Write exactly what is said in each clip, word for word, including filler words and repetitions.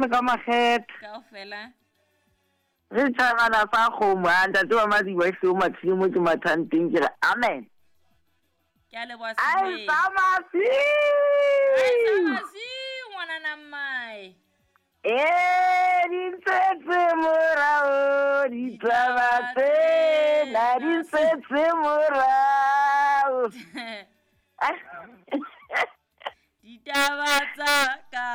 Ka makgethe. Kaofela. Re tshwarana fa kgomo a ntate wa Madiba e seo mathile mo ke mathang teng ke re amen. Ke a leboha Ai Sebeng. samasi. Ai samasi ngwanana mmae. Eh di ntshetse morao ditaba tsena di ntshetse morao. Ditaba tsa ka.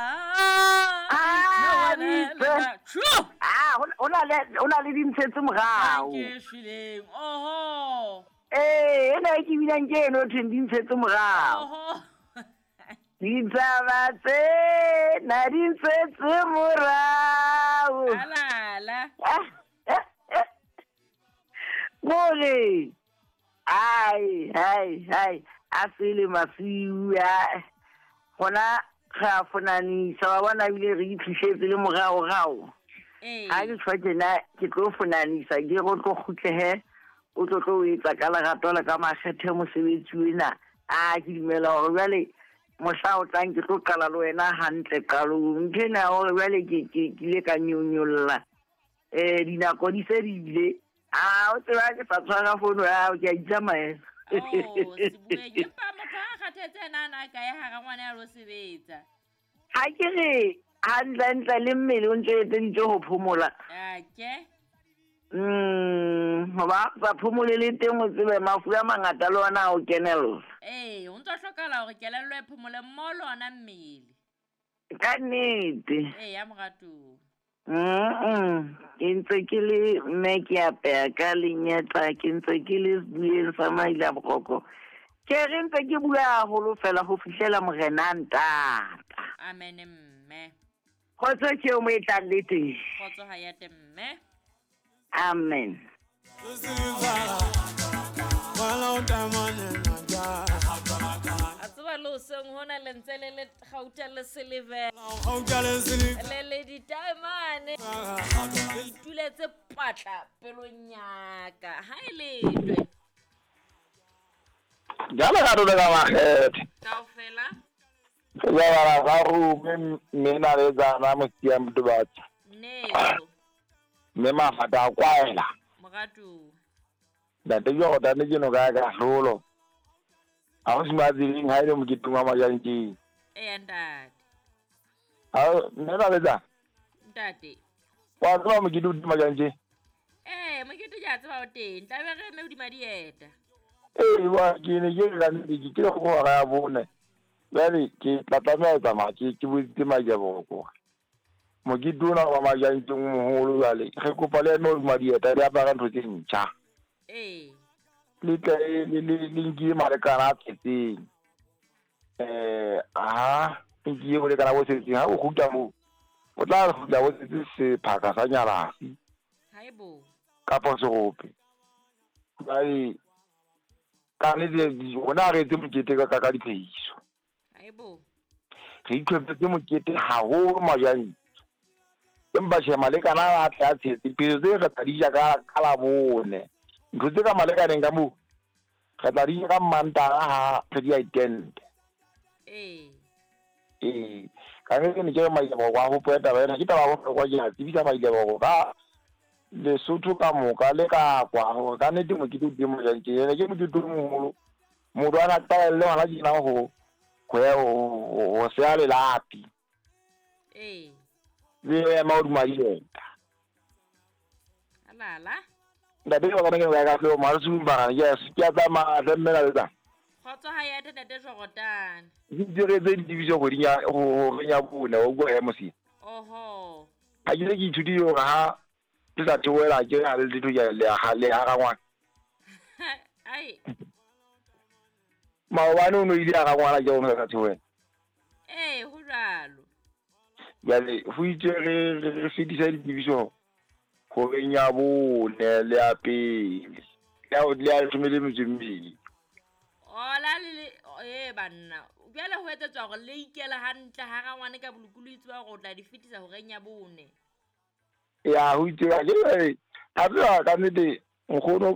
Ah, Le di le- True. Ah, ho na le ho na le di ntshetse morao. Ke shweleng. Oho. Eh, ena e ke binang ke eno thweng di ntshetse morao. Oho. Ditaba tsena di ntshetse morao. Alala. Kore ai ai ai a sele masiu a hona re a fonanisa wa bona ebile re itlhisetse le moraorao. Ee. Ha ke tshwa tjena ke tlo fonanisa ke re o tlo kgutlehe o tlo tlo o etsa ka lerato le ka makgethe mosebetsi ona. A ke dumela hore jwale mohla o tlang ke tlo qala le wena hantle qalong. Ntho ena ya hore jwale ke ke ke ile ka nyonyolla eh dinako di se di ile. A o tseba ke sa tshwara fono ya hao ke a itsamaela. Oh, Sebueng. Empa motho ha a kgathetse ena a na a kae hara ngwana ya lo sebetsa. Ha ke re hantlentle le mmele o ntso etseditswe ho phomola. Ake. Mm, hoba sa phomole le teng o tsebe mafu a mangata le ona a o kenella. Ee, ho ntso hlokahala hore kelello e phomole mmoho le ona mmele. Ka nnete. Ee, ya moratuwa. Mm, ke ntse ke le mme ke apeha ka lenyetla, ke ntse ke le sebueng sa maila boroko. Ke re ntse ke bua haholo fela ho fihlela morena a ntata. Amen mme. Kgotso ke eo mo e tlang le teng. Kgotso ha ya te mme. Amen. A tseba le hoseng hona le ntse le le kgauta le silver. Le le ditaemane. Le ituletse patla pelong ya ka. Ha e letwe. Jalo ga rona ka makgethe. Kaofela. Re ja bana ba rome mme na le tsana mosia Motubatsi. Neo. Mme mafata a kwaela. Moratuwa. Ntate Jordan ke no ka ka hlolo. Ha ho se matseleng ha ile moketeng wa Majantjeng. Eya ntate. Ha mme na le tsana. Ntate. Wa tseba mokete o teng Majantjeng? Eh, mokete ke a tseba o teng. Tla be re eme hodima dieta. Ee, wa ke ne ke re ka nnete ke kile go hora ya bone. Jwale ke tla tlameha ho tsamaya ke ke boditse Majaboroko. Mokete ona wa Majantjeng o moholo jwale re kopa le eme hodima dieta le apare ntho tse ntjha. Ee. Le tle le le le nkile malekana a tletseng. Eh, aha, nkile bolekana bo setseng ha o kgutla moo. O tla kgutla bo setse sephaka sa nyalasi. Haebo. Kapa serope. Jwale ka nnete rona re etse mokete ka ka diphehiso. Haebo. Re itlhophetse mokete haholo Majantjeng. Empa tjhe malekana a tle a tshetse diphehiso tse re tla di ja ka ka Labone. Ntho tse ka malekaneng ka moo re tla di ja ka Mantaha ha re di a itente. Ee. Ee, ka nnete ne ke re Majaboroko a hopole taba ena ke taba ya bohlokwa ke a tsebisa Majaboroko ka Lesotho ka moka le ka kwa hore ka nnete mokete o teng Majantjeng. Ene ke mokete o moholo. Motho a na qalelle hona tjena ho ho ya ho ho seha lelapi. Ee. Le ema hodima dieta. Alala. Ntate wa ka ke ka hloo mare bara ke a ke a tsamaya hle mme na le tsana. Kgotso ha ya ntate Jordan. Ke diretse ditsebiso kgweding ya ho ya bone wa utlwa mosi. Oho. Ha ke se ke ithutile hore ha ke sa theohela ke ha le letho ke le ha le ha rangwana. Ai. Maobane o no ile a rangwana ke o sa theohela. Ee, ho jwalo. Jwale ho itse re re fetisa ditsebiso kgweding ya bone le ya pele. Le ya le ya leshome le metso e mmedi. Ola le eh banna. Jwale ho etsetswa hore le ikela hantle ha rangwane ka bolokolohi tseba hore o tla di fetisa horeng ya bone. Ya ho itse ke ha tseba ka nnete nkgono